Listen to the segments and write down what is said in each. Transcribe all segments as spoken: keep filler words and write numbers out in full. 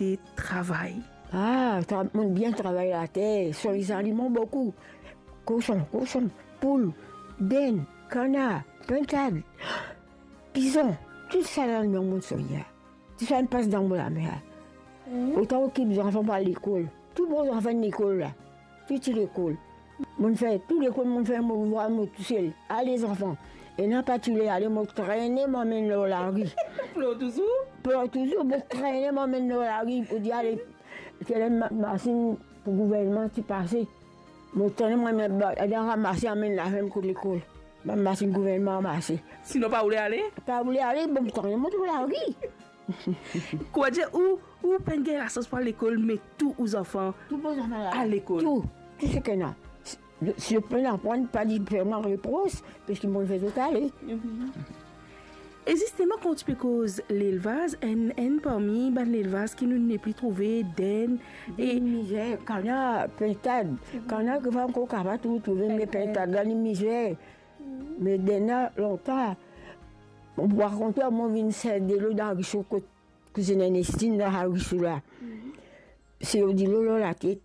de travay? Ah, tra-, monn bien travay later, soz lizaliman boukou. Koson, koson, poul, dinn, kanar, pintad, pizon, tou sa la, non, monn soz la. Tou sa inn pas dan mo lame la. Otan okip zanfan pou al lekol. Tou bon zanfan lekol la. Tou ti lekol. Monn fer tou lekol, monn fer mo devwar mo tousel. Ale zanfan. Ena pa ti le ale, mo trene, mo amenn lor lari. Plor touzour? Plor touzour, mo trene, mo amenn lor lari. Pou dir ale, se la ma-, masinn pou gouvernman ti pase. Mo trene, mo amenn ba-, ale ramase, amenn laferm kot lekol. Bann masinn gouvernman ramase. Sinon pa oule ale? Pa oule ale, bon, mo trene, mo lor lari. Kouma dir, ou, ou pa'nn gagn lasans pou al lekol, me tou ou zanfan... Tou mo zanfan la. Al lekol. Tou, tou seki ena. Si, si zot pa'nn aprann, pa dir fer mwa repros, parski monn fer zot ale. Mhm. E zisteman, kan ti pe koz lelvaz, enn, enn parmi bann lelvaz ki nou nepli trouve, dinn, e dinn mizer, kanar, pintad. Mhm. Kanar ki pa ankor kapav tou trouve, me pintad. Pintad la, li mizer. Me dinn la, lontan, mo pou rakont, mo vinn serv delo dan lariso kot kouzin Ernestine dan lariso la. Mhm. Serv delo lor latet,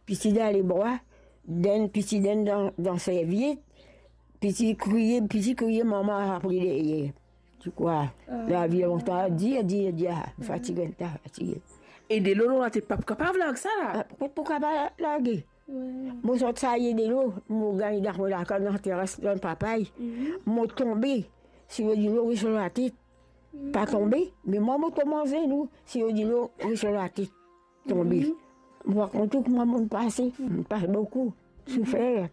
piti dan lebra, dinn, piti dinn dan, dan serviet, piti kriye, piti kriye, mama apre deryer. Ti krwar, ah, lavi lontan, dir, dir, dir, ah, fatige, ta fatige. E delo lor latet pa pou kapav larg sa la? Ah, pou, pou kapav large. Wi. Mo sot serv delo, mo gagn dan mo lakaz, dan teras, dan papay. Mhm. Mo tonbe, serv delo res lor latet. Mhm. Pa tonbe, me mwa mo tonbe azenou, serv delo res lor latet. Tonbe. Mhm. Mo rakont ou kouma monn pase, monn pas boukou soufer.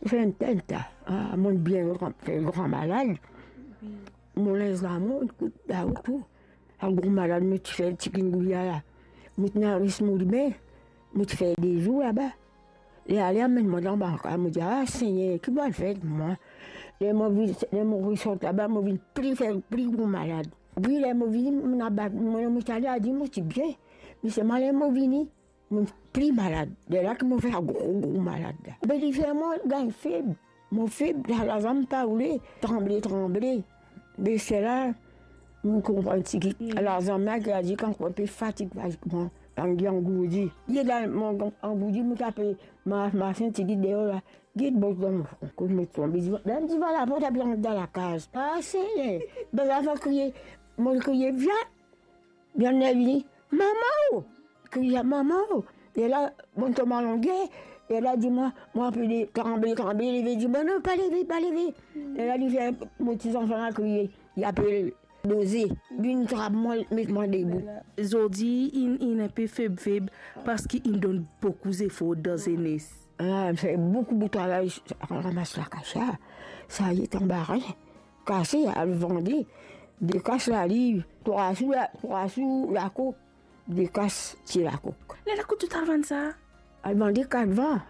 Soufer enn tel ta. Ah, monn bien gran, fer gran malad. Wi. Mo linz la, mo kout la, tou. Sa gro malad mo ti fer chikungunya la. Mo ti ena ris mo lime, mo ti fer de zour laba. Li ale amenn mwa dan banka, mo dir, "Ah, Segner, ki pou al fer mwa?" Ler mo vinn, ler mo resort laba, mo vinn pli fer, pli gro malad. Wi, ler mo vini, mo ena bat, mo, mo ti ale, a dir mo ti bien. Me selman ler mo vini, mo pli malad. Lerla ki mo fer sa gro, gro malad la. Be li fer mwa gagn feb. Mo feb, la, lazam pa oule, tranble, tranble. Be sela, mo konpran tigit. Mm. Lazam la, ki a dir kan mo pe fatig, fatig, mo, angourdi. Li la, mo angourdi, mo ti pe mars, mars enn tigit deor la. Get bot dan mo fron, kot mo tonbe, divan, divan laport, ape rant dan lakaz. Pase, be, be, la, mo kriye, mo kriye, "Vyan!" Vyan, li vini, "Mama o!" Kriye, "Mama o!" Lerla, mo tonbe alonge, lerla dir mwa, mo apel li, tranble, tranble, leve, dir mwa, "Non, pa leve, pa leve." Lerla li fer mo ti zanfan la kriye, li apel Doze, vinn trap mwa, met mwa debout. Zordi, inn, inn inpe feb, feb, parski inn donn boukou zefor dan zenes. Ah, fer boukou, boukou travay, ramas lakasia, sa ye tanbarin, kase, al vande, de kas laliv, trwa sou la, trwa sou lakok, de kas ti lakok. Lerla kot to ti al vann sa? Al vande katvan.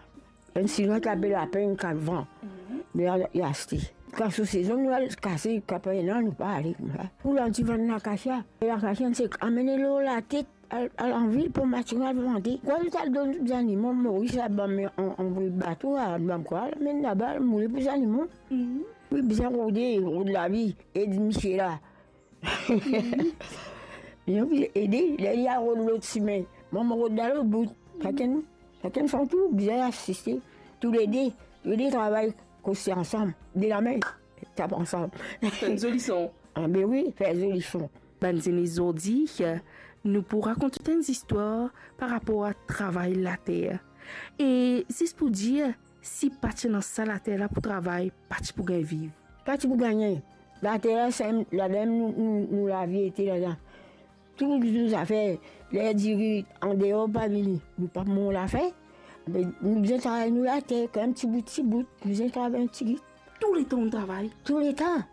Enn Sinwa ki apel Lapeng, katvan. Mhm. Li al, li aste. Kan sou sezon, nou al kase, kan pa ena, nou pa ale koumsa. Pou la ti vann lakasia. Lakasia, se amenn lor latet, al, al anvil pou matin al vande. Kwa, nou ti al donn zanimo, Moris la, bann, an, anvoy bato, a, bann kwa, amenn laba, moule pou zanimo. Mhm. Wi, bizin rode, rod lavi, ed misie la. Li anvi ede, li, li al rod lot sime. Mwa, mo rod dan lot bout. Sakenn, sakenn son tour, bizin asiste. Toulede, toulede travay koste ansam. De lame, tap ansam. Fer zoli son. Ah, be wi, fer zoli son. Bann zenes zordi, nou pou rakont enn zistwar par rapor a travay later. E zis pou dir, si pa ti ena sa later la pou travay, pa ti pou gagn viv. Pa ti pou gagne. Later la, sa, ladan nou, nou, nou lavi ete ladan. Tou nou zafer, ler diri andeor pa vini, nou pa pou manz lafer. Me nou bizin travay nou later, kan mem ti bout, ti bout, nou bizin travay enn tigit. Touletan nou travay? Touletan.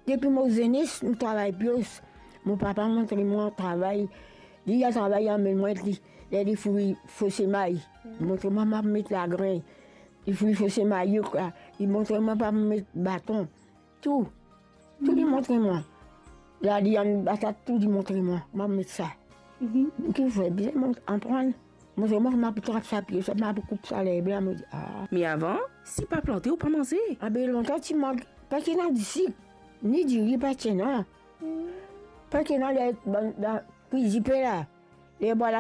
Depi mo zenes, nou travay pios. Mo papa montre mwa travay. Li, li al travay, li amenn mwa li, ler li fouy fo semay. Li montre mwa, mwa met lagrin. Li fouy fo semay, yo, kwa. Li montre mwa pa met baton. Tou. Tou li montre mwa. Lali, ann batat, tou li montre mwa. Mwa met sa. Mhm. Ki fer, bizin mwa aprann. Montre mwa, mwa pou trap sa pie, sa, mwa pou koup sa lerb la, mo dir, ah. Me avan, si pa plante, ou pa manze. Ah be, lontan ti mank, pa ti ena disik, ni diri pa ti ena. Mhm. Pa ti ena le, bann, la, kwi dipen la. Lerb la,